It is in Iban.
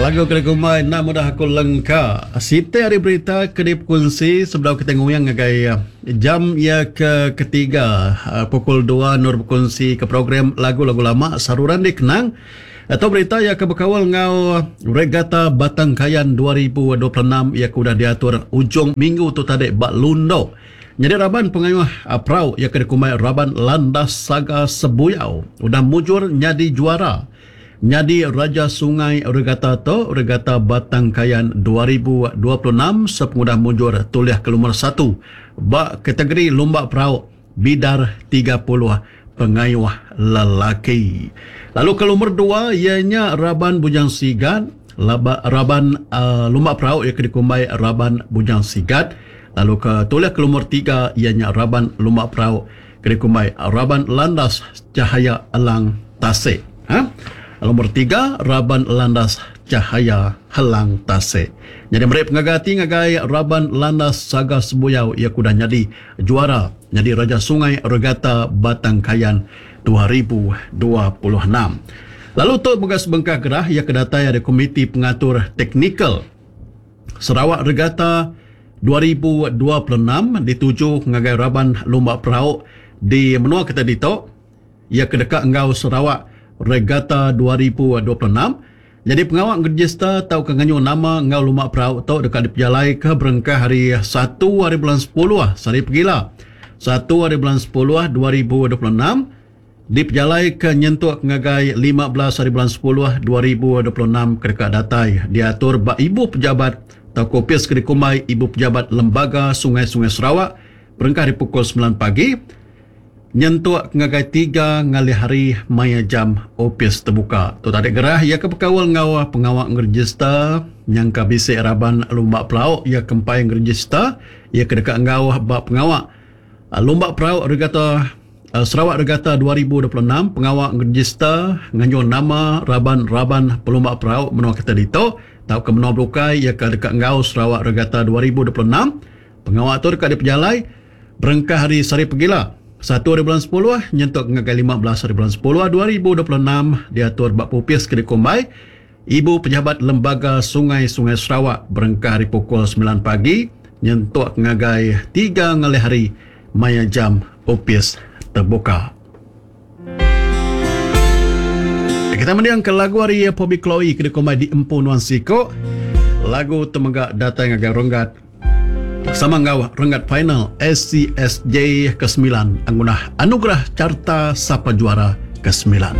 Lagu ke dikumbai enda mudah aku lengka. Siti ari berita ke dipekunsi sebedau kita nguyang ngagai jam iya ke ketiga pukul dua endur bekunsi ke program lagu-lagu lama saruran dikenang. Tu berita iya ke bekaul enggau Regata Batang Kayan 2026 iya ke udah diatur ujung minggu tu tadi ba Lundu. Nyadi raban pengayuh perau iya ke dikumbai Raban Landas Saga Sebuyau udah mujur nyadi juara nyadi Raja Sungai Regata tu, Regata Batang Kayan 2026 sepengudah mujur tulih ke lumur satu ba kategori lumba perau bidar 30 pengayuh lelaki. Lalu ke lumur dua iya nya Raban Bujang Sigat, laba raban lumba perau iya ke dikumbai Raban Bujang Sigat. Lalu ke tulih ke lumur tiga iya nya raban lumba perau ke dikumbai Raban Landas Cahaya Elang Tasik. Ha? Lumur tiga Raban Landas Cahaya Helang Tasik. Nyadi meri pengaga ati ngagai Raban Landas Saga Sebuyau iya ke udah nyadi juara nyadi Raja Sungai Regata Batang Kayan 2026. Lalu tu mega sebengkah gerah iya ke datai ari Komiti Pengatur Teknikal Sarawak Regata 2026 dituju ngagai raban lumba perau di menua kitai ditu iya ke deka enggau Sarawak Regata 2026. Nyadi pengawa ngerejista tauka nganjung nama enggau lumba perau tu deka dipejalaika berengkah hari satu hari bulan sepuluh sehari pegila satu hari bulan sepuluh 2026 dipejalaika nyentuk ngagai 15 hari bulan sepuluh 2026 ke deka datai diatur ba Ibu Pejabat tauka opis ke dikumbai Ibu Pejabat Lembaga Sungai-Sungai Sarawak berengkah ari pukul semilan pagi nyentuk ngagai tiga ngalih hari maya jam opis tebuka. Tu tadi gerah iya ke bekaul enggau pengawa ngerejista nyangka bisi raban lumba perau iya ke empai ngerejista iya ke deka enggau ba pengawa lumba perau Regata Sarawak Regata 2026 pengawa ngerejista nganjung nama raban-raban pelumba perau menua kita ditu tauka menua bukai iya ke deka enggau Sarawak Regata 2026. Pengawa tu deka dipejalai berengkah hari sehari pegila, satu hari bulan sepuluh nyentuk ngagai 15 hari bulan sepuluh 2026 diatur ba Popis ke dikumbai Ibu Pejabat Lembaga Sungai-Sungai Sarawak berengkah ari pukul semilan pagi nyentuk ngagai tiga ngalih hari maya jam opis tebuka. Kita mending ke lagu ari Poby Chloe ke dikumbai Diempu Nuan Siko. Lagu tu mega datai ngagai renggat sama enggau renggat final SCSJ ke semilan angunah Anugerah Carta Sapa Juara ke semilan.